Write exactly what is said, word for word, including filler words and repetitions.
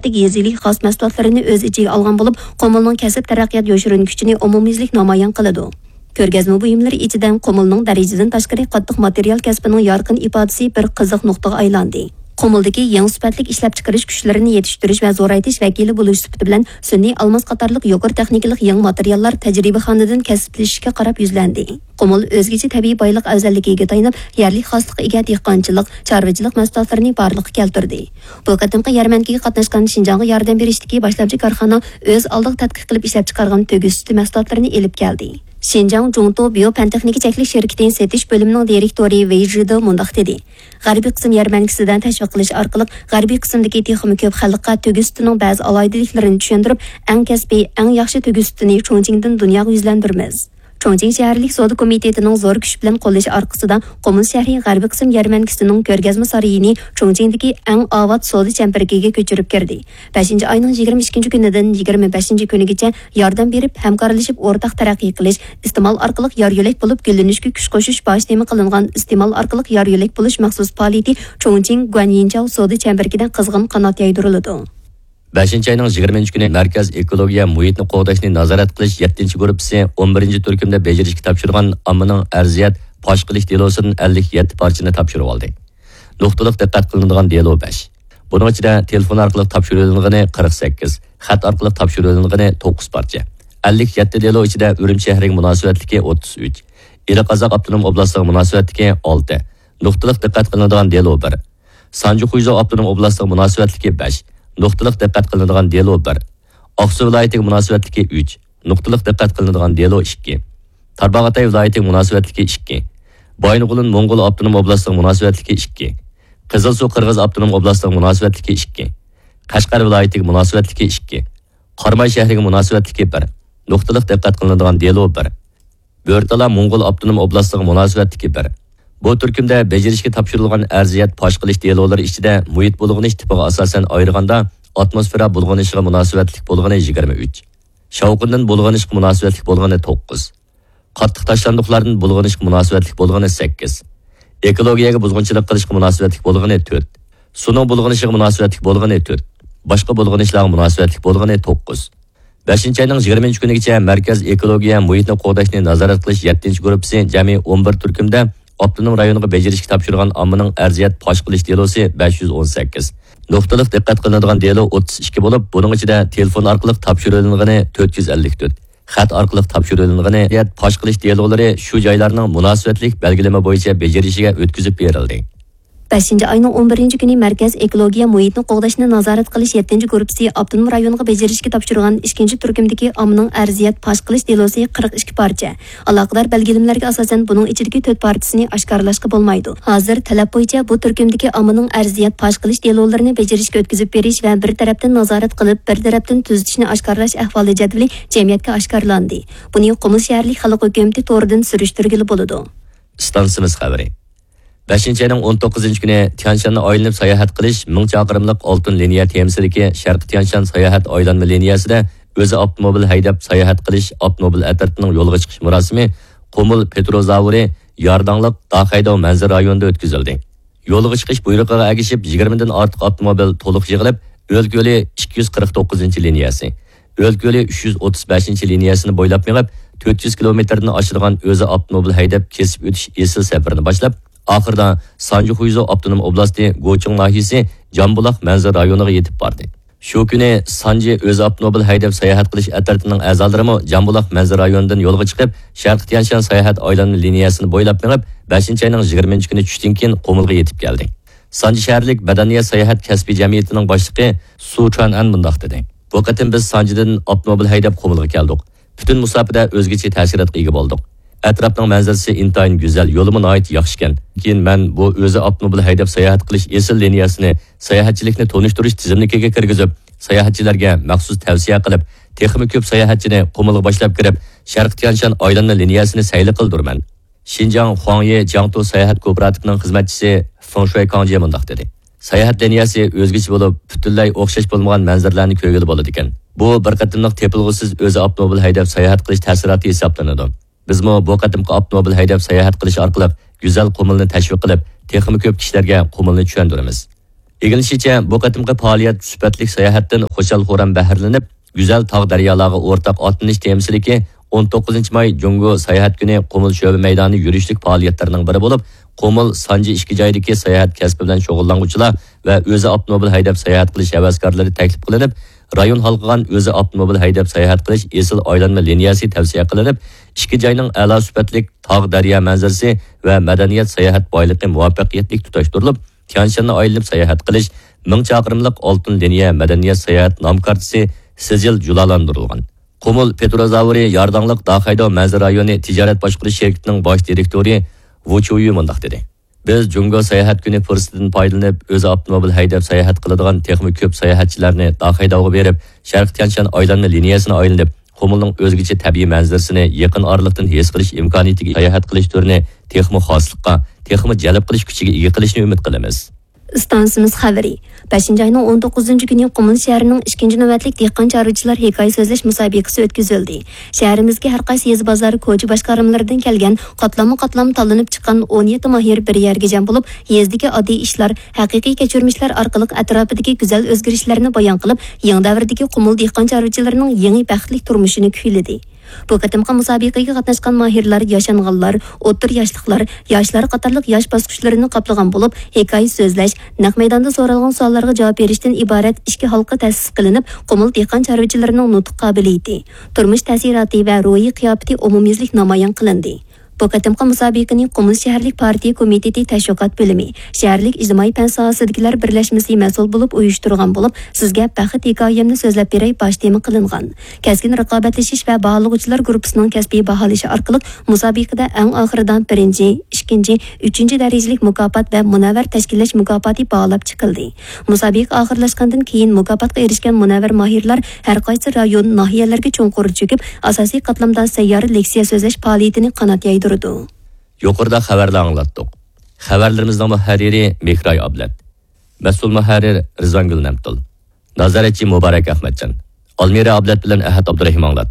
يېزىلىك خاس مەھسۇلاتلىرىنى ئۆز ئىچىگە ئالغان بولۇپ، قۇمۇلنىڭ كەسىپ تەرەققىيات يوشۇرۇن كۈچىنى ئومۇميۈزلۈك نامايان قىلىدۇ. كۆرگەزمە بۇيۇملىرى ئىچىدە قۇمۇلنىڭ دەرىجىدىن تاشقىرى قاتتىق ماتېرىيال كەسپىنىڭ يارقىن ئىپادىسى بىر قىزىق نۇقتىغا ئايلاندى. قۇمۇلدىكى يېڭى سۈپەتلىك ئىشلەپچىقىرىش كۈچلىرىنى يېتىشتۈرۈش ۋە زورايتىش ۋەكىلى بولۇش سۈپىتى بىلەن سۈنئىي ئالماس قاتارلىق يۇقىرى تېخنىكىلىق يېڭى ماتېرىياللار تەجرىبىخانىدىن كەسىپلىشىشكە قاراپ يۈزلەندى. قۇمۇل ئۆزگىچە تەبىئىي بايلىق ئەۋزەللىكىگە تايىنىپ، يەرلىك خاسلىققا ئىگە دېھقانچىلىق، چارۋىچىلىق مەھسۇلاتلىرىنى بارلىققا كەلتۈردى. بۇ قېتىمقى يەرمەنكىگە قاتناشقان شىنجاڭغا ياردەم بېرىشتىكى باشلامچى كارخانا ئۆز ئالدىغا تەتقىق قىلىپ ئىشلەپچىقارغان تۆگە سۈتى مەھسۇلاتلىرىنى ئېلىپ كەلدى. شىنجاڭ جۇڭتو بىيو پەن تېخنىكا چەكلىك شىركىتى سېتىش بۆلۈمىنىڭ دىرېكتورى ۋېي ژىدې مۇنداق دېدى: غەربىي قىسىم يەرمەنكىسىدە تەشۋىق قىلىش ئارقىلىق، غەربىي قىسىمدىكى تېخىمۇ كۆپ خەلققە تۆگە سۈتىنىڭ بەزى ئالاھىدىلىكلىرىنى چۈشەندۈرۈپ، ئەڭ كەسپىي، ئەڭ ياخشى تۆگە سۈتىنى چۇڭچىڭدىن دۇنياغا يۈزلەندۈرىمىز. چۇڭچىڭ شەھەرلىك سودا كومىتېتىنىڭ زور كۈچ بىلەن قوللىشى ئارقىسىدا، قۇمۇل شەھىرى غەربىي قىسىم يەرمەنكىسىنىڭ كۆرگەزمە سارىيىنى چۇڭچىڭدىكى ئەڭ ئاۋات سودا چەمبىرىكىگە كۆچۈرۈپ كىردى. بەشىنچى ئاينىڭ يىگىرمە ئىككىنچى كۈنىدىن يىگىرمە بەشىنچى كۈنىگىچە ياردەم بېرىپ، ھەمكارلىشىپ ئورتاق تەرەققىي قىلىش، ئىستېمال ئارقىلىق يار يۆلەك بولۇپ گۈللىنىشكە كۈچ قوشۇش باش تېما قىلىنغان ئىستېمال ئارقىلىق يار يۆلەك بولۇش مەخسۇس پائالىيىتى چۇڭچىڭ گۇەنيىنچاۋ سودا چەمبىرىكىدە قىزغىن قانات يايدۇرۇلىدۇ. بەشىنچى ئاينىڭ يىگىرمىنچى كۈنى مەركەز ئېكولوگىيە مۇھىتنى قوغداشنى نازارەت قىلىش يەتتىنچى گۇرۇپپىسى ئون بىرىنچى تۈركۈمدە بېجىرىشكە تاپشۇرغان ئاممىنىڭ ئەرزىيەت پاش قىلىش دېلوسىدىن ئەللىك يەتتە پارچىنى تاپشۇرۇۋالدى. نۇقتىلىق دىققەت قىلىنىدىغان دېلو بەش. بۇنىڭ ئىچىدە تېلېفون ئارقىلىق تاپشۇرۇۋېلىنغىنى قىرىق سەككىز، خەت ئارقىلىق تاپشۇرۇۋېلىنغىنى توققۇز پارچە. ئەللىك يەتتە دېلو ئىچىدە ئۈرۈمچى شەھىرىگە مۇناسىۋەتلىكى ئوتتۇز ئۈچ، ئىلى قازاق ئاپتونوم ئوبلاستىغا مۇناسىۋەتلىكى ئالتە، نۇقتىلىق دىققەت قىلىنىدىغان دېلو بىر، سانجى خۇيزۇ ئاپتونوم ئوبلاستىغا مۇناسىۋەتلىكى بەش، نۇقتىلىق دىققەت قىلىنىدىغان دېلو بىر، ئاقسۇ ۋىلايىتىگە مۇناسىۋەتلىكى ئۈچ، نۇقتىلىق دىققەت قىلىنىدىغان دېلو ئىككى، تارباغاتاي ۋىلايىتىگە مۇناسىۋەتلىكى ئىككى، بايىنغولىن موڭغۇل ئاپتونوم ئوبلاستىغا مۇناسىۋەتلىكى ئىككى، قىزىلسۇ قىرغىز ئاپتونوم ئوبلاستىغا مۇناسىۋەتلىكى ئىككى، قەشقەر ۋىلايىتىگە مۇناسىۋەتلىكى ئىككى، قاراماي شەھىرىگە مۇناسىۋەتلىكى بىر، نۇقتىلىق دىققەت قىلىنىدىغان دېلو بىر، بۆرتالا موڭغۇل ئاپتونوم ئوبلاستىغا مۇناسىۋەتلىكى بىر. بۇ تۈركۈمدە بېجىرىشكە تاپشۇرۇلغان ئەرزىيەت پاش قىلىش دېلولىرى ئىچىدە مۇھىت بۇلغىنىش تىپىغا ئاساسەن ئايرىغاندا، ئاتموسفېرا بۇلغىنىشىغا مۇناسىۋەتلىك بولغىنى يىگىرمە ئۈچ، شاۋقۇندىن بۇلغىنىشقا مۇناسىۋەتلىك بولغىنى توققۇز، قاتتىق تاشلاندۇقلاردىن بۇلغىنىشقا مۇناسىۋەتلىك بولغىنى سەككىز، ئېكولوگىيەگە بۇزغۇنچىلىق قىلىشقا مۇناسىۋەتلىك بولغىنى تۆت، سۇنىڭ بۇلغىنىشىغا مۇناسىۋەتلىك بولغىنى تۆت، باشقا بۇلغىنىشلارغا مۇناسىۋەتلىك بولغىنى توققۇز. بەشىنچى ئاينىڭ يىگىرمىنچى كۈنىگىچە مەركەز ئېكولوگىيە مۇھىتنى قوغداشنى نازارەت قىلىش يەتتىنچى گۇرۇپپىسى جەمئىي ئون بىر تۈركۈمدە ئاپتونوم رايونغا بېجىرىشكە تاپشۇرغان ئاممىنىڭ ئەرزىيەت پاش قىلىش دېلوسى بەش يۈز ئون سەككىز، نۇقتىلىق دىققەت قىلىنىدىغان دېلو ئوتتۇز ئىككى بولۇپ، بۇنىڭ ئىچىدە تېلېفون ئارقىلىق تاپشۇرۇۋېلىنغىنى تۆت يۈز ئەللىك تۆت، خەت ئارقىلىق تاپشۇرۇۋېلىنغىنى ئەرزىيەت پاش قىلىش دېلولىرى شۇ جايلارنىڭ مۇناسىۋەتلىك بەلگىلىمە بويىچە بېجىرىشىگە ئۆتكۈزۈپ بېرىلدى. بەشىنچى ئاينىڭ ئون بىرىنچى كۈنى مەركەز ئېكولوگىيە مۇھىتنى قوغداشنى نازارەت قىلىش يەتتىنچى گۇرۇپپىسى ئاپتونوم رايونغا بېجىرىشكە تاپشۇرغان ئىككىنچى تۈركۈمدىكى ئاممىنىڭ ئەرزىيەت پاش قىلىش دېلوسى قىرىق ئىككى پارچە. ئالاقىدار بەلگىلىمىلەرگە ئاساسەن، بۇنىڭ ئىچىدىكى تۆت پارچىسىنى ئاشكارىلاشقا بولمايدۇ. ھازىر تەلەپ بويىچە بۇ تۈركۈمدىكى ئاممىنىڭ ئەرزىيەت پاش قىلىش دېلولىرىنى بېجىرىشكە ئۆتكۈزۈپ بېرىش ۋە بىر تەرەپتىن نازارەت قىلىپ، بىر تەرەپتىن تۈزىتىشنى ئاشكارىلاش ئەھۋالى جەدۋىلى جەمئىيەتكە ئاشكارىلاندى. بۇنى قۇمۇل شەھەرلىك خەلق ھۆكۈمىتى تورىدىن سۈرۈشتۈرگىلى بولىدۇ. ئىستانسىمىز خەۋىرى. بەشىنچى ئاينىڭ ئون توققۇزىنچى كۈنى تيەنشاننى ئايلىنىپ ساياھەت قىلىش مىڭ چاقىرىملىق ئالتۇن لىنىيە تېمىسىدىكى شەرقىي تيەنشان ساياھەت ئايلانما لىنىيەسىدە ئۆزى ئاپتوموبىل ھەيدەپ ساياھەت قىلىش ئاپتوموبىل ئەترىتىنىڭ يولغا چىقىش مۇراسىمى قۇمۇل پېتروزاۋرى يارداڭلىق داخەيداۋ مەنزىرە رايونىدا ئۆتكۈزۈلدى. يولغا چىقىش بۇيرۇقىغا ئەگىشىپ، يىگىرمىدىن ئارتۇق ئاپتوموبىل تولۇق يىغىلىپ، ئۆلكە يولى ئىككى يۈز قىرىق توققۇزىنچى لىنىيەسى، ئۆلكە يولى ئۈچ يۈز ئوتتۇز بەشىنچى لىنىيەسىنى بويلاپ مېڭىپ، تۆت يۈز كىلومېتىردىن ئاشىدىغان ئۆزى ئاپتوموبىل ھەيدەپ كېسىپ ئۆتۈش ئېسىل سەپىرىنى باشلاپ، ئاخىرىدا سانجى خۇيزۇ ئاپتونوم ئوبلاستى گوچىڭ ناھىيەسى جامبۇلاق مەنزىرە رايونىغا يېتىپ باردى. شۇ كۈنى سانجى ئۆزى ئاپتوموبىل ھەيدەپ ساياھەت قىلىش ئەترىتىنىڭ ئەزالىرىمۇ جامبۇلاق مەنزىرە رايونىدىن يولغا چىقىپ، شەرقىي تيەنشان ساياھەت ئايلانما لىنىيەسىنى بويلاپ مېڭىپ، بەشىنچى ئاينىڭ يىگىرمىنچى كۈنى چۈشتىن كېيىن قۇمۇلغا يېتىپ كەلدى. سانجى شەھەرلىك مەدەنىيەت ساياھەت كەسپىي جەمئىيىتىنىڭ باشلىقى سۇ چۈەنئەن مۇنداق دېدى: بۇ قېتىم بىز سانجىدىن ئاپتوموبىل ھەيدەپ قۇمۇلغا كەلدۇق. پۈتۈن مۇساپىدە ئۆزگىچە تەسىراتقا ئىگە بولدۇق. ئەتراپنىڭ مەنزىرىسى ئىنتايىن گۈزەل، يولىمۇ ناھايىتى ياخشىكەن. كېيىن مەن بۇ ئۆزى ئاپتوموبىل ھەيدەپ ساياھەت قىلىش ئېسىل لىنىيەسىنى ساياھەتچىلىكنى تونۇشتۇرۇش تىزىملىكىگە كىرگۈزۈپ، ساياھەتچىلەرگە مەخسۇس تەۋسىيە قىلىپ، تېخىمۇ كۆپ ساياھەتچىنى قۇمۇلغا باشلاپ كىرىپ، شەرقىي تيەنشان ئايلانما لىنىيەسىنى سەيلە قىلدۇرىمەن. شىنجاڭ خۇاڭيې جياڭتۇ ساياھەت كوپىراتىپىنىڭ خىزمەتچىسى فېڭ شۇەي كاڭجيې مۇنداق دېدى: ساياھەت لىنىيەسى ئۆزگىچە بولۇپ، پۈتۈنلەي ئوخشاش بولمىغان مەنزىرىلەرنى كۆرگىلى بولىدىكەن. بۇ بىر قېتىملىق تېپىلغۇسىز ئۆزى ئاپتوموبىل ھەيدەپ ساياھەت قىلىش تەسىراتى ھېسابلىنىدۇ. بىزمۇ بۇ قېتىمقى ئاپتوموبىل ھەيدەپ ساياھەت قىلىش ئارقىلىق گۈزەل قۇمۇلنى تەشۋىق قىلىپ، تېخىمۇ كۆپ كىشىلەرگە قۇمۇلنى چۈشەندۈرىمىز. ئىگىلىنىشىچە، بۇ قېتىمقى پائالىيەت سۈپەتلىك ساياھەتتىن خۇشال-خۇرام بەھرىلىنىپ، گۈزەل تاغ-دەريالارغا ئورتاق ئاتلىنىش تېمىسىدىكى ئون توققۇزىنچى ماي جۇڭگو ساياھەت كۈنى قۇمۇل شۆبە مەيدانى يۈرۈشلۈك پائالىيەتلىرىنىڭ بىرى بولۇپ، قۇمۇل سانجى ئىككى جايدىكى ساياھەت كەسپى بىلەن شۇغۇللانغۇچىلار ۋە ئۆزى ئاپتوموبىل ھەيدەپ ساياھەت قىلىش ھەۋەسكارلىرى تەكلىپ قىلىنىپ، رايون ھالقىغان ئۆزى ئاپتوموبىل ھەيدەپ ساياھەت قىلىش ئېسىل ئايلانما لىنىيەسى تەۋسىيە قىلىنىپ، ئىككى جاينىڭ ئەلا سۈپەتلىك تاغ-دەريا مەنزىرىسى ۋە مەدەنىيەت ساياھەت بايلىقى مۇۋەپپەقىيەتلىك تۇتاشتۇرۇلۇپ، تيەنشاننى ئايلىنىپ ساياھەت قىلىش مىڭ چاقىرىملىق ئالتۇن لىنىيە مەدەنىيەت ساياھەت نام كارتىسى سىجىل جۇلالاندۇرۇلغان. قۇمۇل پېتروزاۋرى يارداڭلىق داخەيداۋ مەنزىرە رايونى تىجارەت باشقۇرۇش شىركىتىنىڭ باش دىرېكتورى ۋۇ چۇيۈ مۇنداق دېدى: بىز جۇڭگو ساياھەت كۈنى پۇرسىتىدىن پايدىلىنىپ، ئۆزى ئاپتوموبىل ھەيدەپ ساياھەت قىلىدىغان تېخىمۇ كۆپ ساياھەتچىلەرنى داخەيداۋغا بېرىپ، شەرقىي تيەنشان ئايلانما لىنىيەسىنى ئايلىنىپ، قۇمۇلنىڭ ئۆزگىچە تەبىئىي مەنزىرىسىنى يېقىن ئارىلىقتىن ھېس قىلىش ئىمكانىيىتىگە ساياھەت قىلىش تۈرىنى تېخىمۇ خاسلىققا، تېخىمۇ جەلپ قىلىش كۈچىگە ئىگە قىلىشنى ئۈمىد قىلىمىز. ئىستانسىمىز خەۋىرى. بەشىنچى ئاينىڭ ئون توققۇزىنچى كۈنى قۇمۇل شەھىرىنىڭ ئىككىنچى نۆۋەتلىك دېھقان چارۋىچىلار ھېكايە سۆزلەش مۇسابىقىسى ئۆتكۈزۈلدى. شەھىرىمىزدىكى ھەر قايسى يېزا بازار، كوچا باشقارمىلىرىدىن كەلگەن قاتلاممۇ قاتلام تاللىنىپ چىققان ئون يەتتە ماھىر بىر يەرگە جەم بولۇپ، يېزىدىكى ئاددىي ئىشلار، ھەقىقىي كەچۈرمىشلەر ئارقىلىق ئەتراپىدىكى گۈزەل ئۆزگىرىشلەرنى بايان قىلىپ، يېڭى دەۋردىكى قۇمۇل دېھقان چارۋىچىلىرىنىڭ يېڭى بەختلىك تۇرمۇشىنى كۈيلىدى. بۇ قېتىمقى مۇسابىقىگە قاتناشقان ماھىرلار ياشانغانلار، ئوتتۇرا ياشلىقلار، ياشلار قاتارلىق ياش باسقۇچلىرىنى قاپلىغان بولۇپ، ھېكايە سۆزلەش، نەق مەيداندا سورالغان سوئاللارغا جاۋاب بېرىشتىن ئىبارەت ئىككى ھالقا تەسىس قىلىنىپ، قۇمۇل دېھقان چارۋىچىلىرىنىڭ نۇتۇق قابىلىيىتى، تۇرمۇش تەسىراتى ۋە روھىي قىياپىتى ئومۇميۈزلۈك نامايان قىلىندى. بۇ قېتىمقى مۇسابىقىنى قۇمۇل شەھەرلىك پارتىيە كومىتېتى تەشۋىقات بۆلۈمى، شەھەرلىك ئىجتىمائىي پەن ساھەسىدىكىلەر بىرلەشمىسى مەسئۇل بولۇپ ئۇيۇشتۇرغان بولۇپ، سىزگە بەخت ھېكايەمنى سۆزلەپ بېرەي باش تېما قىلىنغان. كەسكىن رىقابەتلىشىش ۋە باھالىغۇچىلار گۇرۇپپىسىنىڭ كەسپىي باھالىشى ئارقىلىق مۇسابىقىدە ئەڭ ئاخىرىدا بىرىنچى، ئىككىنچى، ئۈچىنچى دەرىجىلىك مۇكاپات ۋە مۇنەۋۋەر تەشكىللەش مۇكاپاتى باھالاپ چىقىلدى. مۇسابىقە ئاخىرلاشقاندىن كېيىن، مۇكاپاتقا ئېرىشكەن مۇنەۋۋەر ماھىرلار ھەر قايسى رايون، ناھىيەلەرگە چوڭقۇر چۆكۈپ، ئاساسىي قاتلامدا سەييارە لېكسىيە سۆزلەش پائالىيىتىنى قانات يايدۇرىدۇ. يۇقىرىدا خەۋەرلەر ئاڭلاتتۇق. خەۋەرلىرىمىزنىڭ مۇھەررىرى مېھراي ئابلەت. مەسئۇل مۇھەررىر رىزۋانگۈل نەمتۇل. نازارەتچى مۇبارەك ئەخمەتجان. ئالمىرە ئابلەت بىلەن ئەھەت ئابدۇرېھىم ئاڭلاتتى.